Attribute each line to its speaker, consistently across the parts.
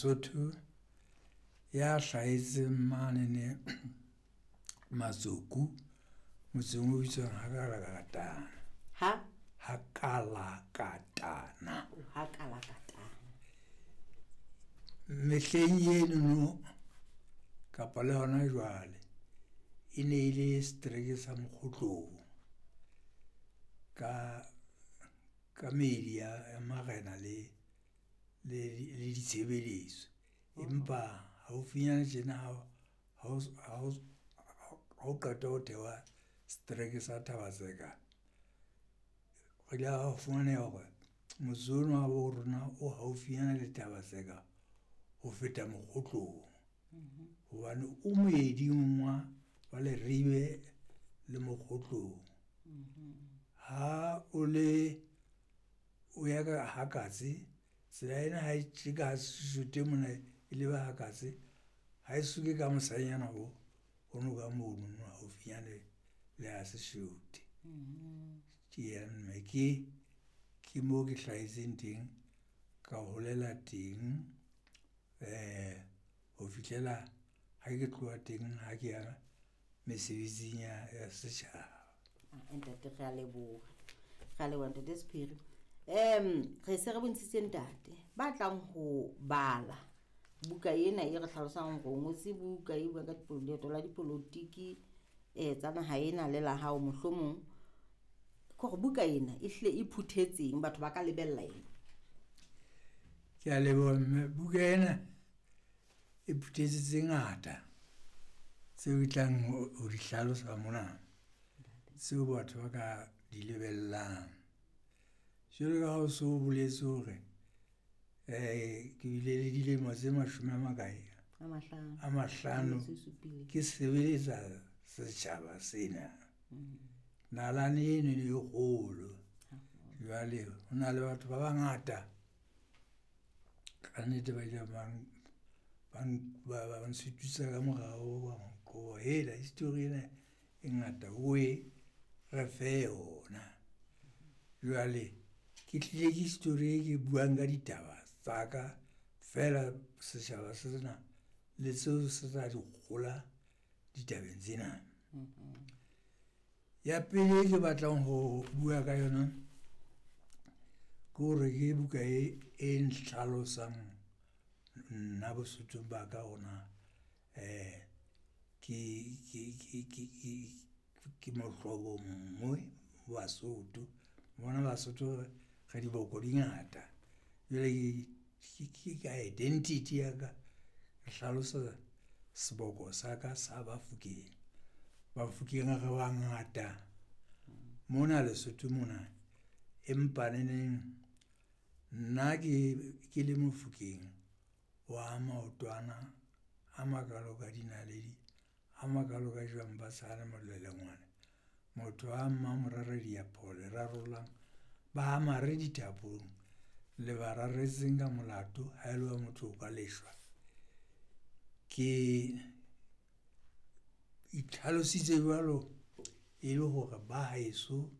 Speaker 1: Mosotho ya hlahetseng mane ne Matsoku motseng o bitswang Hakalakatana.
Speaker 2: Ha?
Speaker 1: Hakalakatana.
Speaker 2: Hakalakatana.
Speaker 1: Mehleng enono kapa le hona jwale e ne e le setereke sa Mokgotlong ka meedi ya marena le ditshebeletso. Empa haufinyana tjena ha o qeta ho thewa setereke sa Thaba-Tseka, re ile ra fumaneha hore motse ona wa bo rona o haufinyana le Thaba-Tseka ho feta Mokgotlong. Hobane o moeding wa Leribe le Mokgotlong. Ha o le, o ya ka ha Katse tsela ena ha e tjeka Seshwetwe mona e leba ha Katse, ha e suke ka mosanyana o ono ka monono haufinyane le ha Seshwetwe. Ke mme ke moo ke hlahetseng teng, ka holela teng ho fihlela ha ke tloha teng ha ke ya mesebetsing ya setjhaba.
Speaker 2: Ntate re a leboha, re a leboha ntate Sephiri. Re se re bontshitse ntate ba tlang ho bala buka ena e re hlalosang hore o ngotse buka e buang ka leeto la dipolotiki tsa naha ena le la hao mohlomong. Ke hore buka ena e hlile e phuthetseng, batho ba ka lebella eng?
Speaker 1: Ke a leboha mme, buka ena e phuthetse tse ngata tseo ke tlang ho di hlalosa mona, tseo batho ba ka di lebellang. Jwalo ka ha o so boletse hore ke bile le dilemo tse mashome a makae?
Speaker 2: A mahlano.
Speaker 1: A mahlano ke sebeletsa setjhaba sena. Nalane eno e kgolo, jwale ho na le batho ba bangata kannete ba ile ba nsututsa ka morao, ba hela history ena e ngata owe re fe yona. Jwale ke tlile ke history e ke buang ka ditaba tsa ka feela setjhaba sena le seo se tla di kgola ditabeng tsena. Ya pele e ke batlang ho bua ka yona ke hore ke buka e nhlalosang nna Bosothong ba ka hore na ke mohlobo nngwe Basotho. Mona Basotho re diboko di ngata jwale ke identity ya ka, ke hlalosa seboko sa ka sa Bafokeng. Bafokeng re bangata mona Lesotho mona, empa neneng nna ke le Mofokeng wa maotwana a makalo ka dinaledi, a makalo ka jwang ba tshana molelengwana. Motho wa mmamorare diapoho le rarollang ba ha mare dithapong, le ba raretseng ka molato ha e le wa motho o ka leshwa. Ke itlhalositse jwalo e le hore ba heso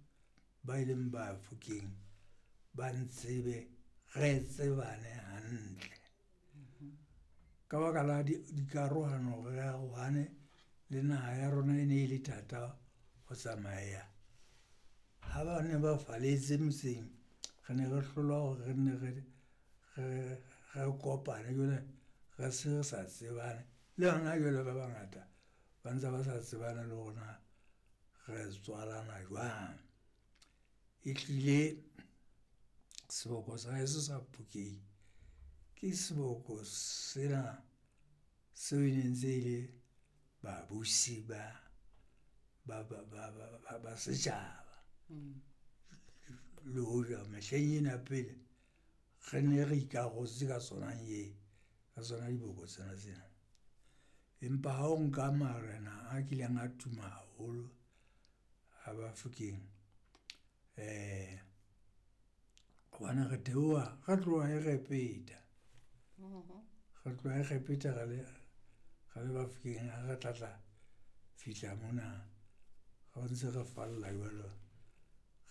Speaker 1: ba e leng Bafokeng ba ntsebe, re tsebane hantle. Ka baka la dikarohano re arohane le naha ya rona e ne e le thata ho tsamaya. Ha ba ne ba falletse motseng, re ne re hlolwa hore re nne re kopane jwale re se re sa tsebane le hona jwale ba bangata ba ntse ba sa tsebane le hore na re tswalana jwang. E hlile seboko sa heso sa Phokeng ke seboko sena seo e ne ntse e le babusi ba setjhaba. Le hoja mehleng ena ya pele re ne re ikarotse ka tsona ka tsona diboko tsena tsena. Empa ha o nka marena a kileng a tuma haholo a Bafokeng hobane re theoha, re tloha Egepeta, re tloha Egepeta re le Bafokeng ha re tla tla fihla mona, re ntse re falla jwalo,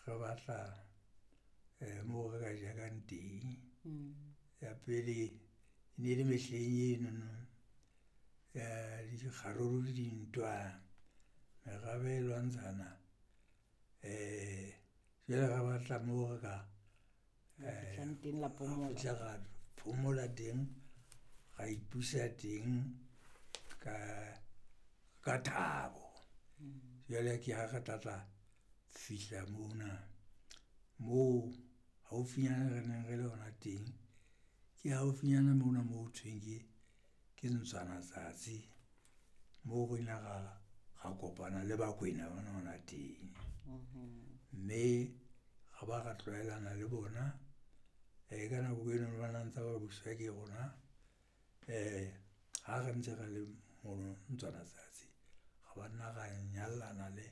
Speaker 1: re batla moo re ka jakang teng. Ya pele e E ne le mehleng enono ya dikgaruru le dintwa, merabe e lwantshana. Jwale ra batla moo re ka fihla ra phomola teng, ra ipusa teng ka thabo. Jwale ke ha re tla tla fihla mona moo haufinyana re neng re le hona teng, ke haufinyana mona moo ho thweng ke Ntswana-tsatsi moo re ileng ra kopana le Bakwena bona hona teng. Mme ra ba ra tlwaelana le bona ka nako eno ba na ntse ba buswa ke rona ha re ntse re le mono Ntswana-tsatsi, ra ba nna ra nyallana le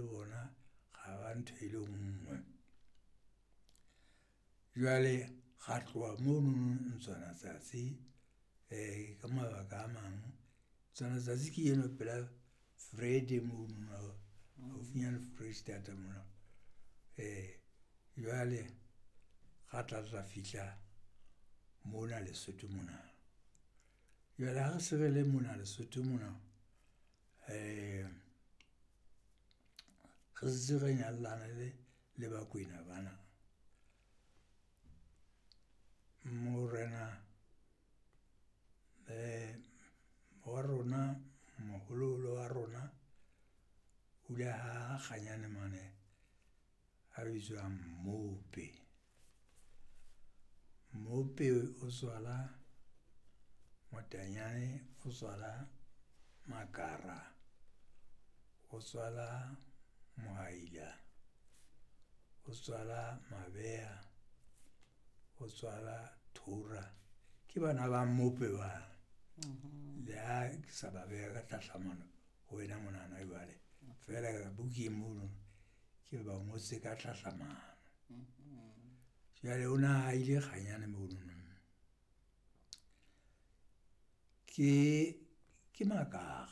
Speaker 1: bona, ra ba ntho e le nngwe. Jwale ra tloha mono Ntswana-tsatsi ka mabaka a mang, Ntswana-tsatsi ke eno pela Vrede mono haufinyane Foreisetata mona. Jwale ra tla tla fihla mona Lesotho mona, jwale ha re se re le mona Lesotho mona re setse re nyallane le Bakwena bana. Morena wa rona, moholoholo wa rona o ile aha Kganyane mane a bitswang Mmope. Mmope o tswala Motanyane, o tswala Makara, o tswala Mohaila, o tswala Mabeya, o tswala Tora. Ke bana ba Mmope bana, le ha ke sa ba beha ka tlhahlamano ho wena monana jwale feela bukeng mono ke ba ngotse ka tlhahlamano. Jwale o na ahile Kganyane monono. Ke Makara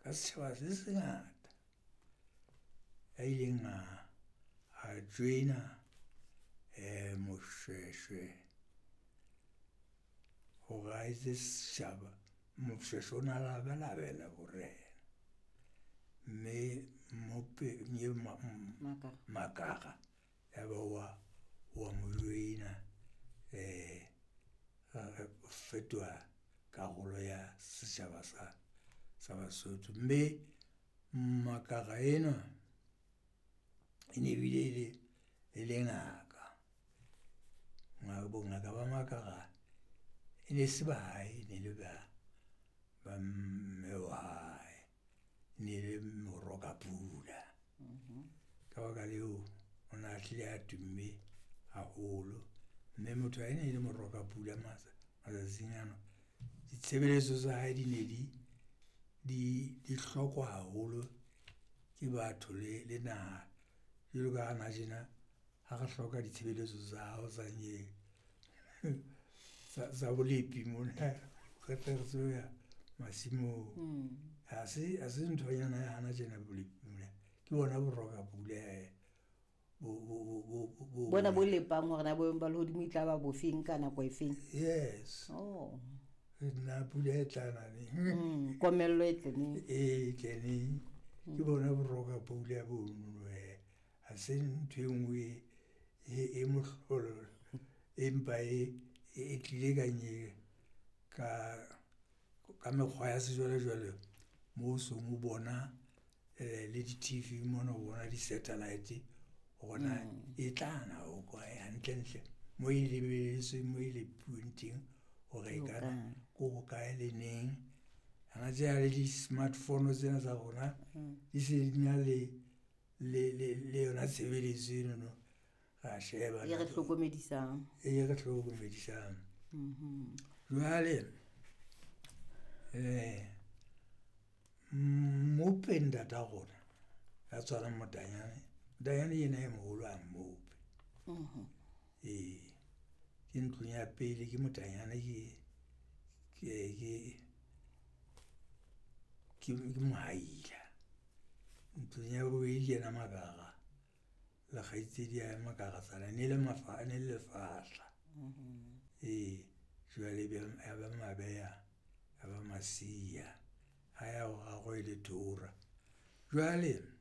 Speaker 1: ka setjhaba se se ngata a ileng a join-a Moshweshwe hore a etse setjhaba. Moshweshwe o na labalabela borena, mme Mmope Makara ya ba wa mo join-a fetoha karolo ya setjhaba sa Basotho. Mme Makara enwa e ne bile e le ngaka, bongaka ba Makara e ne se ba hae, e ne le ba mme wa hae, e ne le moroka pula. Ka baka leo, o na hlile a tumme haholo, mme motho ha e ne le moroka pula matsatsing ano. Ditshebeletso tsa hae di ne di hlokwa haholo ke batho le naha jwalo ka hana tjena ha re hloka ditshebeletso tsa hao tsa tsa bolepi mona re tle re tsebe ho ya masimong. Ha se nthonyana ya hana tjena bolepi mona, ke bona bo roka pula hee
Speaker 2: Bona bo lepang hore na boemo ba lehodimo e tla ba bofeng ka nako e feng?
Speaker 1: Yes.
Speaker 2: Oh.
Speaker 1: Na pula e tla na neng?
Speaker 2: Komello e tle neng?
Speaker 1: E tle neng? Ke bona bo roka pula bono hee, ha se ntho e nngwe e mohlolo empa e tlile ka mekgwa ya sejwalejwale moo o seng o bona le di-TV mona o bona di-satellite hore na e tla na ho kae hantle-ntle moo e lebelletsweng, moo e lepuweng teng hore e ka na ko hokae, le neng. Hana tjena le di-smart phone tsena tsa rona di se di na le yona tshebeletso enono, ra sheba
Speaker 2: E re hlokomedisang.
Speaker 1: E re hlokomedisang. Jwale Mmope ntata rona ya tswalang Motanyane, Motanyane ke yena e moholo ha Mmope. Ee, ke ntlong ya pele ke Motanyane ke Mohaila. Ntlong ya bobedi ke yena Makara le kgaitsedi ya hae Makaratsana e ne le lefahla, ee. Jwale ya ba mabeya, ya ba masiya. Ha ya boraro e le tora. Jwale .